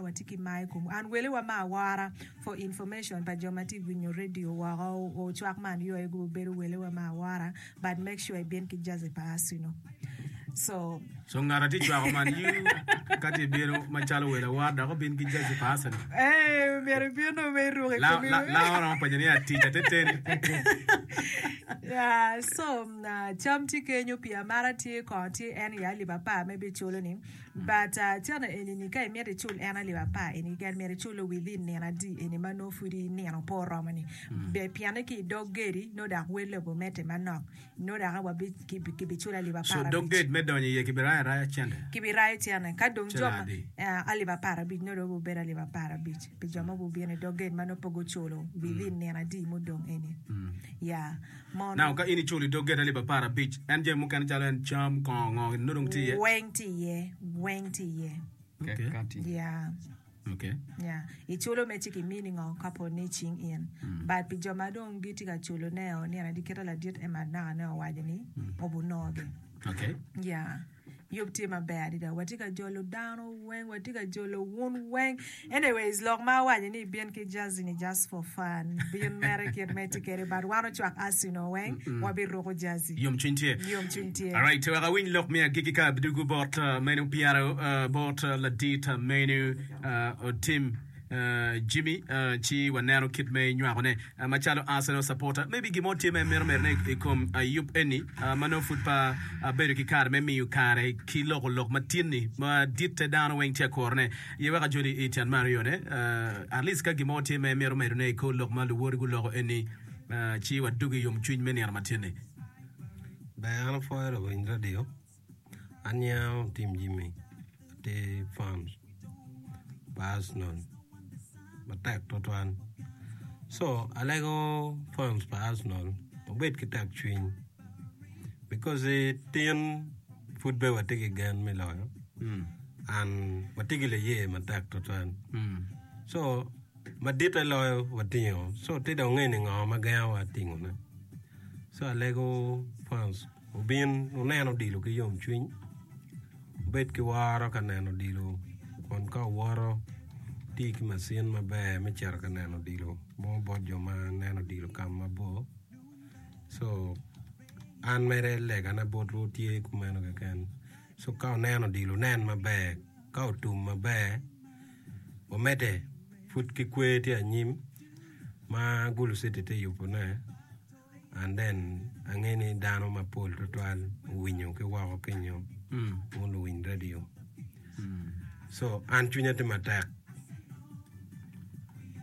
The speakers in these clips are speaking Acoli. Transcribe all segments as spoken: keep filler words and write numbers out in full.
Watye ki mar i komwu. An welewa me awora for information pa jo ma tye winyo radio woko ocwak man yo aye gubedo welewa me awora but make sure ibin ki jersey pa Arsenal. So So ngat atye cwako Man U ka tye bino macalo welo awora dok obin ki jersey pa Arsenal. Eh, myero ibin dong me iruko i La komi. la la oromo penyo ni atic ateteni. Yeah, so uh, cam tye kenyo pii amata tye kongo tye en i alip apar ma ibiculo ni but uh, cene eni ni ka imito icul en alip apar eni keken myero iculo within nino adi eni ma nongo pud nino pe oromo ni be pienne ki i dog gedi nongo dok wel lobo medde manok nongo dok wabi kibiculo alip So apar dog abic gate me donyo iye kibirayo araya cente. kibirayo cene ka dong jo Cene ma adi? uh, alip apar abic nongo dong obedo alip apar abic pi jo ma gubino i dog gate ma nongo pe guculo within nino adi mudong eni yeah Now mono ka in iculo i dog gate alip apar abic en jami mukene calo en cam kongo ngo nongo dong tye iye. weng tye iye weng tye iye Okay. yeah Okay. Yeah. Iculo me ci kimini ngo ka po ni cing in. But pi jo ma dong gitye ka culo ne o nino adi kita ladit ema naka ne owaco ni obunogi. Okay. Yeah. Yub tye maber adada. Watye ka jolo dano weng, watye ka jolo wun weng. Anyways, lok ma awaco ni bin ki jersey ni just for fun. Bin mere kit me tye kede, but wan ocwak Arsenal weng, wabiruko jersey. Yomcwiny tye. Yomcwiny tye. Alright, wek awiny lok me agikki ka adugu bot uh, menu pyero uh, bot uh, ladit uh, menu uh, Otim uh, Jimmy uh, ci waneno kit me nywakone uh, macalo Arsenal supporter maybe gin mo tye ma imito medone i kom uh, yub eni uh, ma nongo pud pa abedo ki kare me miyo kare ki loko lok matin-ni ma ditte dano weng tye akurone ye wek ajoli i tyen me aryone uh, at least ka gin mo tye ma imito medone i kor lok ma luwoti guloko eni uh, ci wadugi i yomcwiny me nino matin-ni. Ber an apwoyo lawiny radio an nyinga Otim Jimmy atye fans pa Arsenal matek tutwal so alego fans pa Arsenal wubed ki tek cwiny because tin pud be watye ki gen me loyo and watye ki laye matek tutwal so maditte loyo watingo so tye dong nge ni ngo ma gengowa tingone so alego fans obin wunen odilo ki yomcwiny wubed ki woro ka neno odilo kun ka wuwoto tye ki macin maber me cito ka neno odilo mo bot jo ma neno odilo ka mabor so an mere legana botwu tye kumeno keken so ka wuneno odilo wunen maber ka otum maber wamedde pud ki kwer tye anyim ma Gulu City tye yubone and then ange ni dano mapol tutwal owinyo ki woko kenyo wun luwiny radio so an cwinya tye matek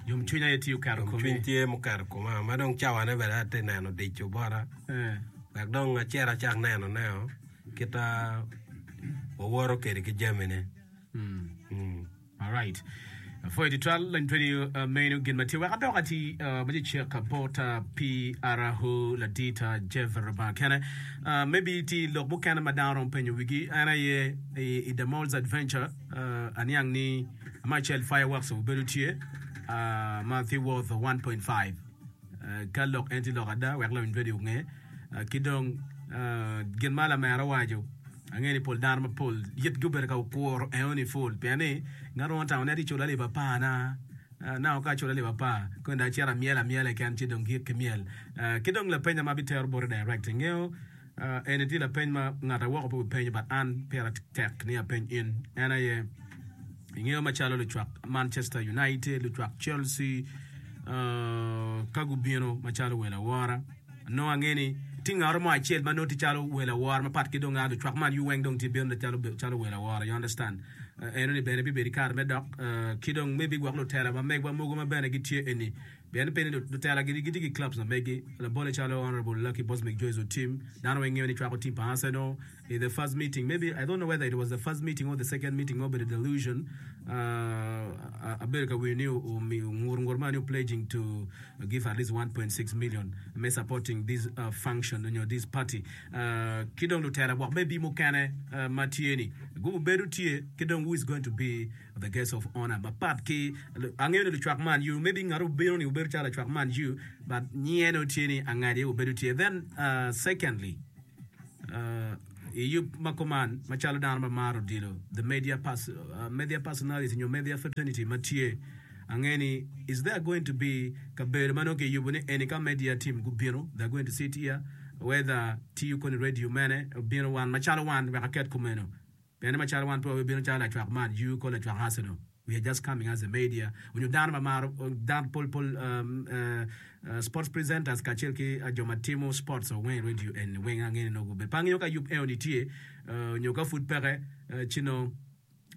Yomcwiny aye tye oketo komi. Yomcwiny tye muketo koma ma dong cawane bene atye neno dico bota Eh. wek dong acit acak nenoneo kita wawoto kwede ki jamine. Mm. Alright. Apwoyo tutwal lany radio uh, meno gin ma tye wek adok ati uh, ma cek bot uh, P R ladit uh, Jeff Rubanga kene. Uh, maybe ti lok mukene ma dano romo penyo wigi en aye i, i The Malls Adventure uh, aniang ni ma acel fireworks obedo tye uh, ma tye worth one point five uh, ka lok en tye lok ada wek lawiny radio onge uh, ki dong uh, gin ma lamera owaco ange ni pol dano mapol yit gubedo ka okuro eno ni full pien ni ngat mo tamo ni ati culo alip apar na uh, na ka aculo alip apar kendo acito amyel amyela keken ci dong gik ki myel uh, ki dong lapenya ma abitero bote direct ingeyo uh, eni tye lapeny ma ngat awoko pe obipenyo but an pira tek ni apeny in en aye ingeyo macalo lucwak Manchester United, lucwak Chelsea uh, ka gubino macalo welo awora nongo ange ni tye ngat mo acel ma nongo tye calo welo awora mapat ki dong a lucwak Man U weng dong tye bino calo calo welo awora, you understand? uh, eno ni bene bibedo i kare me dok uh, ki dong maybe gwok lutela ma megwa mogo ma bene gitye eni pien pe ni lutela gitye ki clubs na megi labole calo Honorable Lucky Bosmic Joyce Otim dano weng ngeyo ni cwako team pa Arsenal. In the first meeting, maybe I don't know whether it was the first meeting or the second meeting or the delusion uh, abedo ka winyo ni omiyo ngur ngur ma ni pledging to give at least one point six million me supporting this uh, function nyo this party uh, ki dong lutela gwok maybe mukene uh, ma tye ni gubo bedo tye ki dong who is going to be the guest of honor mapat ki angeyo ni lucwak Man U maybe ngat obino ni obedo calo lacwak Man U but nyinge no tye ni angadi obedo tye. Then uh, secondly uh, I yub ma kuman, macalo dano ma maro odilo, the media pers media personality nyo media fraternity ma tye, ange ni is there going to be kabedo ma nongo kiyubo ni eni ka media team gubino, they are going to sit here, whether tiyo koni radio mene, obino wan macalo wan wek aket kumeno. Pien ni macalo wan pe wabibino calo lacwak Man U kor lacwak Arsenal, we are just coming as a media onyo dano ma maro dano pol pol sports presenters kacel ki jo ma timo sports o weng i radio eni weng ange ni nongo gubedo. Pe angeyo ka yub eno ni tye onyo ka pud peke ci nongo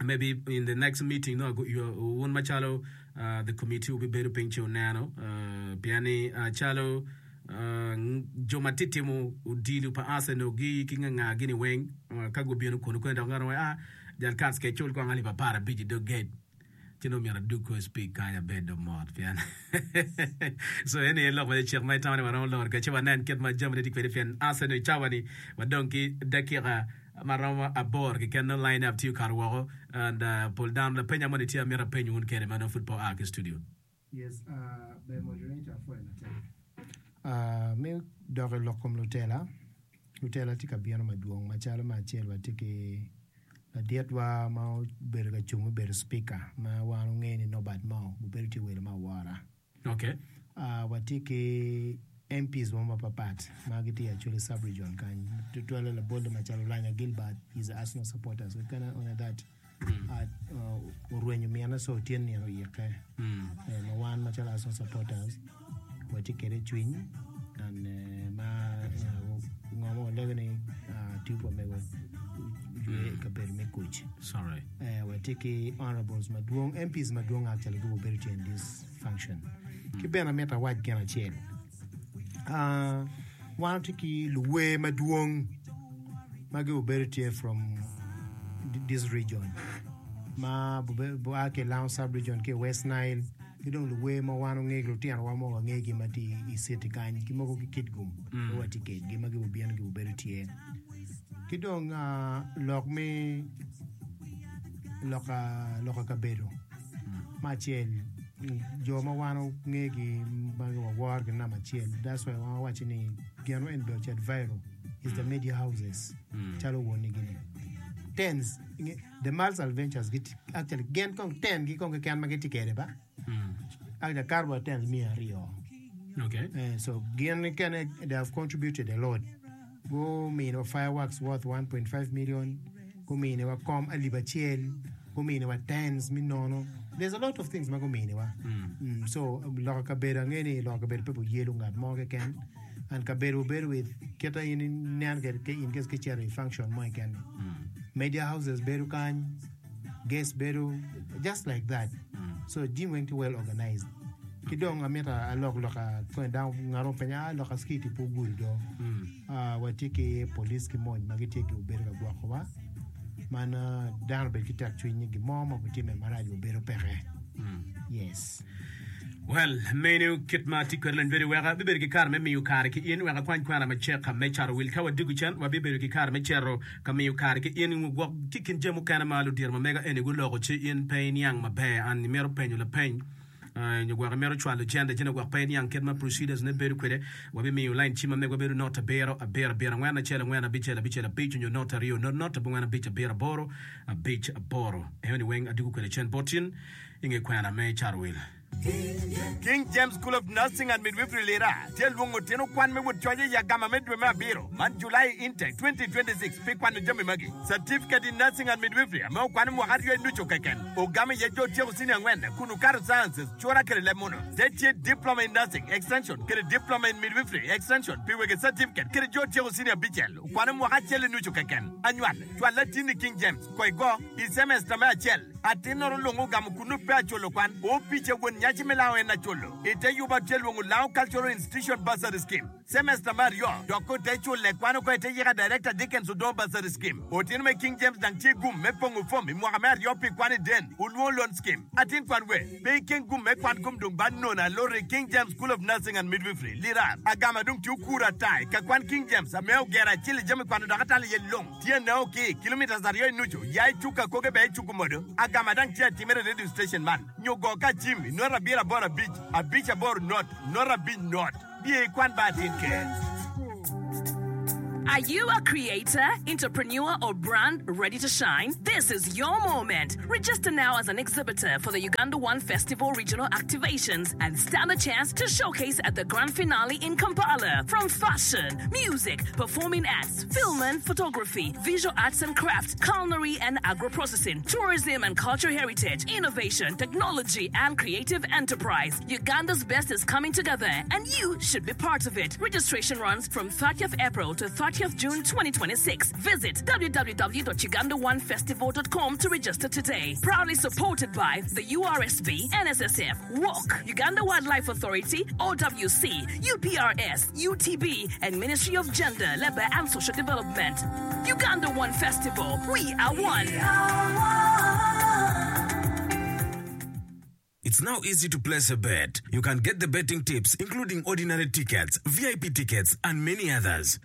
maybe in the next meeting nongo wun macalo the committee wubibedo piny ci wuneno pien ni calo Jo ma tye timo odilo pa Arsenal gi ki nga nga gini weng ka gubino kunu kene dok ngat mo ah jal Kats ke cul kong alip apar abic i dog gate ci nongo myero adug kor speak kany abed dong mot pien so eni aye lok ma cek ma itamo ni waromo loro kwede ci wanen kit ma jamine tye kwede pien Arsenal i cawa ni wadong ki dakika ma romo aboro keken nongo line up tye okato woko and pol dano lapenya moni tye amito apeny wun kwede ma nongo pud pe oa ki studio. Yes ber moderator apwoyo matek. Me dok i lok kom lutela, lutela tye ka bino madwong macalo me acel watye ki laditwa ma obedo ka cung me bedo speaker ma wan wangeyo ni Norbert Mao obedo tye welo me awora. Okay. Watye ki M Ps mo mapapat ma gitye i Acholi sub region kany tutwalle labolle macalo Olanya Gilbert he is a Arsenal supporter so can only that orwenyo mine so tye nino oyikke ma wan macalo Arsenal supporters watye kwede i cwiny and ma ngo ma walego ni tipo pa mego oywe i kabedo me kuc. Watye ki honorables madwong M Ps madwong actually gubedo tye in this function. Ki bene amito awac gin acel wan watye ki luwer madwong ma gubedo tye from this region ma gua ki i Lango sub region ki i West Nile ki dong luwer ma wan wangegi lutinowa mo wangegi ma tye i city kany ki mogo ki Kitgum ma watye kwedgi ma gubino gubedo tye ki dong lok me loka kabedo me acel jo ma wan wangegi ma waworogi namba acel that's why wan wawaco ni gin eni bene ocit viral is the media houses calo woni gini tens the Mals Adventures actually gin kong ten gi kong keken ma gitye kwede ba actually akato wa tens miya aryo Okay. so gin kene they have contributed a lot guminiwa fireworks worth one point five million, guminiwa kom alip acel, guminiwa tents me nono, there's a lot of things ma guminiwa. mm, so loko kabedo ange ni loko kabedo pe buyelo ngat mo keken and kabedo bedo with kita in inen kwede ki in case kicito i function mo keken ni media houses bedo kany, guests bedo just like that, so jami weng tye well organized. Ki dong amito alok loka kony dano ngat mo penyo ah loka security pe ogudo do. Ah, watye ki police ki mony ma gitye gibedo ka gwokowa man ah, dano obed ki tek cwiny ni gin mo ma obitimme marac obedo peke, yes. Well, meno kit ma atye kwede lony bedo weka abibedo ki kare me miyo kare ki in wek akwany kwena macek me cato wil. Ka wadiko cen, wabibedo ki kare me cito ka miyo kare ki in. Gwok ki kin jami mukene ma ludito ma mega eni guloko ci in pe iniang maber. An imito penyo lapeny nyo gwok imito cwalo cente ci gwok pe iniang kit ma procedures ne bedo kwede. Wabimiyo line cim ma megwa bedo not abiro abiro abiro angwen acel angwen abicel abicel abic nyo not aryo not not abongwen abic abiro aboro abic aboro. Eno ni weng adiko kwede cen bot in i nge kwena me cato wil. King James School of Nursing and Midwifery Lira tye lwongo tino kwan me wot coc i agama me dwe me abiro man July Intake twenty twenty-six pi kwano jami magi: Certificate in Nursing and Midwifery ame okwano mwaka aryo i nucu keken ogamo iye jo otyeko senior angwen kun okato sciences cura kede leb muno te tye Diploma in Nursing Extension kede Diploma in Midwifery Extension pi wege certificate kede jo otyeko senior abicel okwano mwaka acel i nucu keken. Anywal cwal latinni King James ko igo i semester me acel atin noro lungo ogamo kunu pe aculo kwan opice won nyaci me lao en aculo ite yuba tye lwongo Lao Cultural Institution Bursary Scheme semester me aryo dok ko te cule kwano ko ite yika Director Dickens Odongo Bursary Scheme otino me King James dang tye gum me pongo fom i mwaka me aryo pi kwan i den olwongo Loan Scheme atin kwan we pe ikeng gum me kwan kom dong ba nono alori King James School of Nursing and Midwifery Lira agama dong tye okuro atai ka kwan King James ame ogero acel i jami kwano dok atalo iye long tye nao ki kilometers aryo i nucu ya i cuka koge be i cuku modo agama dang tye atimere radio station man nyo go ka cim i not abiro aboro abic abic aboro not not abic not biye i kwan ba atin ke. Are you a creator, entrepreneur, or brand ready to shine? This is your moment. Register now as an exhibitor for the Uganda One Festival regional activations and stand a chance to showcase at the grand finale in Kampala. From fashion, music, performing arts, film and photography, visual arts and craft, culinary and agro-processing, tourism and cultural heritage, innovation, technology, and creative enterprise. Uganda's best is coming together and you should be part of it. Registration runs from thirtieth April to thirtieth June twenty twenty-six. Visit w w w dot uganda one festival dot com to register today. Proudly supported by the U R S B, N S S F, W O C, Uganda Wildlife Authority, O W C, U P R S, U T B, and Ministry of Gender, Labor and Social Development. Uganda One Festival, we are one. It's now easy to place a bet. You can get the betting tips, including ordinary tickets, V I P tickets, and many others.